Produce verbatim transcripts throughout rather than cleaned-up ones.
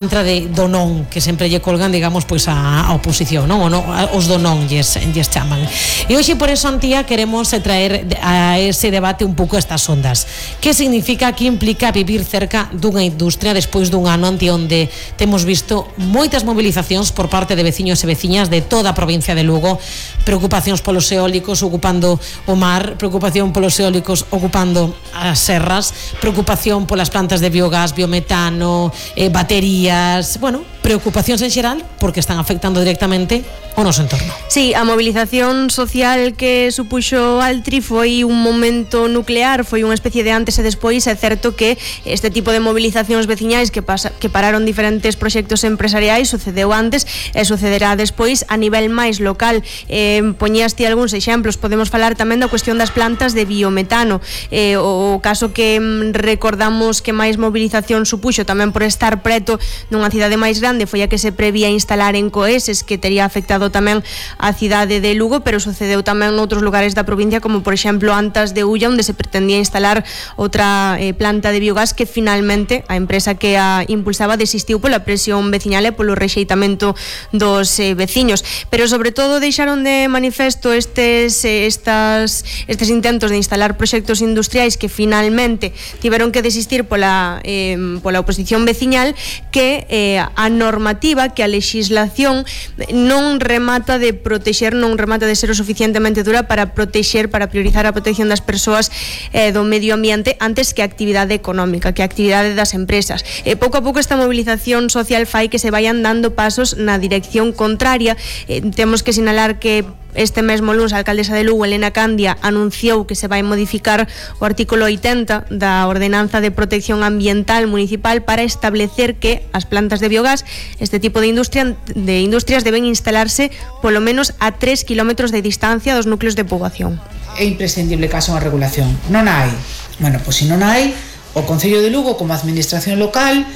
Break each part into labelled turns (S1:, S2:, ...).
S1: contra de do non, que sempre lle colgan, digamos, pois a, a oposición, non? O non, os do non lles, lles chaman. E hoxe por eso, Antía, queremos traer a ese debate un pouco estas ondas. Que significa, que implica vivir cerca dunha industria despois dun ano ante onde temos visto moitas movilizacións por parte de veciños e veciñas de toda a provincia de Lugo, preocupacións polos eólicos ocupando o mar, preocupación polos eólicos ocupando as serras, preocupación polas plantas de biogás, biometano, eh, batería. Bueno, preocupacións en xeral porque están afectando directamente o noso entorno.
S2: Sí, a movilización social que supuxo Altri foi un momento nuclear, foi unha especie de antes e despois. É certo que este tipo de movilizacións veciñais que, pasa, que pararon diferentes proxectos empresariais sucedeu antes e sucederá despois a nivel máis local. Eh, poñíaste algúns exemplos, podemos falar tamén da cuestión das plantas de biometano. Eh, o caso que recordamos que máis movilización supuxo tamén por estar preto nunha cidade máis grande foi a que se prevía instalar en Coeses, que tería afectado tamén a cidade de Lugo, pero sucedeu tamén noutros lugares da provincia, como por exemplo Antas de Ulla, onde se pretendía instalar outra eh, planta de biogás que finalmente a empresa que a impulsaba desistiu pola presión veciñal e polo rexeitamento dos eh, veciños. Pero sobre todo deixaron de manifesto estes, eh, estas, estes intentos de instalar proxectos industriais que finalmente tiveron que desistir pola, eh, pola oposición veciñal, que eh, a normativa, que a legislación non remata de protexer, non remata de ser o suficientemente dura para protexer, para priorizar a protección das persoas eh, do medio ambiente antes que a actividade económica, que a actividade das empresas. E pouco a pouco esta movilización social fai que se vayan dando pasos na dirección contraria. Eh, temos que sinalar que este mesmo luns a alcaldesa de Lugo, Elena Candia, anunciou que se vai modificar o artículo oitenta da Ordenanza de Protección Ambiental Municipal para establecer que as plantas de biogás, este tipo de industria de industrias deben instalarse polo menos a tres kilómetros de distancia dos núcleos de poboación.
S3: É imprescindible que haxa unha regulación. Non hai. Bueno, pois se non hai, o Concello de Lugo, como administración local,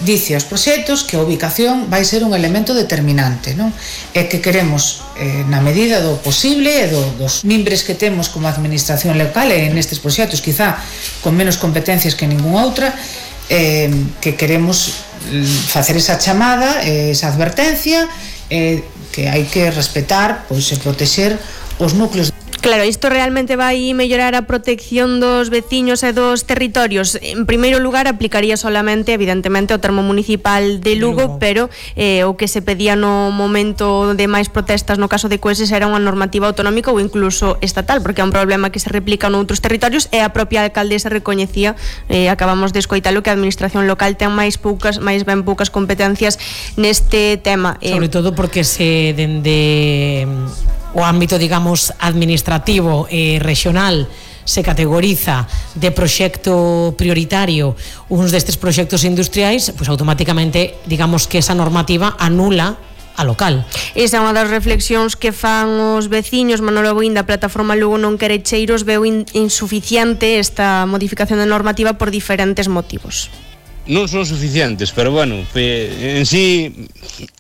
S3: dice aos proxectos que a ubicación vai ser un elemento determinante, non? E que queremos, eh, na medida do posible e do, dos mimbres que temos como administración local e nestes proxectos, quizá con menos competencias que ningunha outra, eh, que queremos facer esa chamada, eh, esa advertencia, eh, que hai que respetar, pois, e protexer os núcleos.
S2: Claro, isto realmente vai mellorar a protección dos veciños e dos territorios. En primeiro lugar, aplicaría solamente, evidentemente, o termo municipal de Lugo, pero eh, o que se pedía no momento de máis protestas no caso de Coeses era unha normativa autonómica ou incluso estatal, porque é un problema que se replica noutros territorios e a propia alcaldesa recoñecía, eh, acabamos de escoitalo, que a administración local ten máis poucas, máis ben poucas competencias neste tema.
S1: Sobre eh, todo porque se dende o ámbito, digamos, administrativo e regional se categoriza de proxecto prioritario uns destes proxectos industriais, pois automáticamente, digamos que esa normativa anula a local.
S2: Esa é unha das reflexións que fan os veciños. Manolo Boín, da plataforma Lugo Non Quere Cheiros, veu in, insuficiente esta modificación de normativa por diferentes motivos.
S4: Non son suficientes, pero bueno, en sí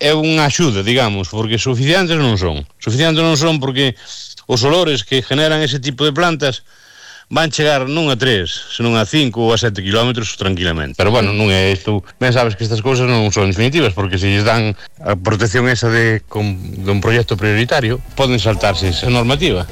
S4: é unha axuda, digamos, porque suficientes non son. Suficientes non son porque os olores que generan ese tipo de plantas van chegar non a tres, senón a cinco ou a sete kilómetros tranquilamente. Pero bueno, non é isto. Ben sabes que estas cousas non son definitivas, porque se lles dan a protección esa de, con, de un proxecto prioritario, poden saltarse esa normativa.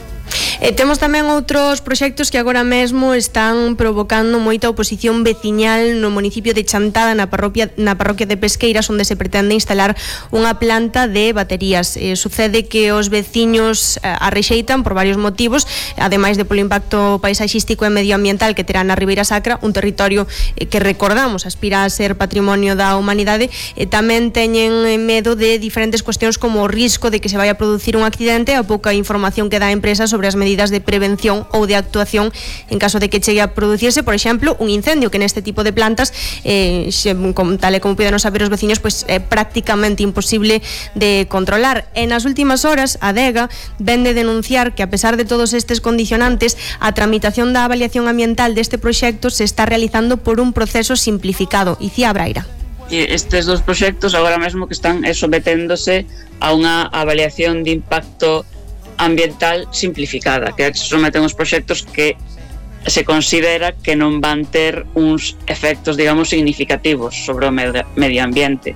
S2: E temos tamén outros proxectos que agora mesmo están provocando moita oposición veciñal no municipio de Chantada, na parroquia, na parroquia de Pesqueiras, onde se pretende instalar unha planta de baterías. Eh, sucede que os veciños eh, a rexeitan por varios motivos, ademais de polo impacto paisaxístico e medioambiental que terá na Ribeira Sacra, un territorio eh, que recordamos aspira a ser patrimonio da humanidade. E tamén teñen medo de diferentes cuestións como o risco de que se vai a producir un accidente, a pouca información que dá a empresa sobre as medidas de prevención ou de actuación en caso de que chegue a producirse, por exemplo, un incendio, que neste tipo de plantas, eh, como, tal e como puderon saber os veciños, pues, é prácticamente imposible de controlar. E nas últimas horas, a Adega ven de denunciar que, a pesar de todos estes condicionantes, a tramitación da avaliación ambiental deste proxecto se está realizando por un proceso simplificado. Icía Braira.
S5: Estes dos proxectos agora mesmo que están someténdose a unha avaliación de impacto ambiental simplificada, que se someten os proxectos que se considera que non van ter uns efectos, digamos, significativos sobre o medio ambiente.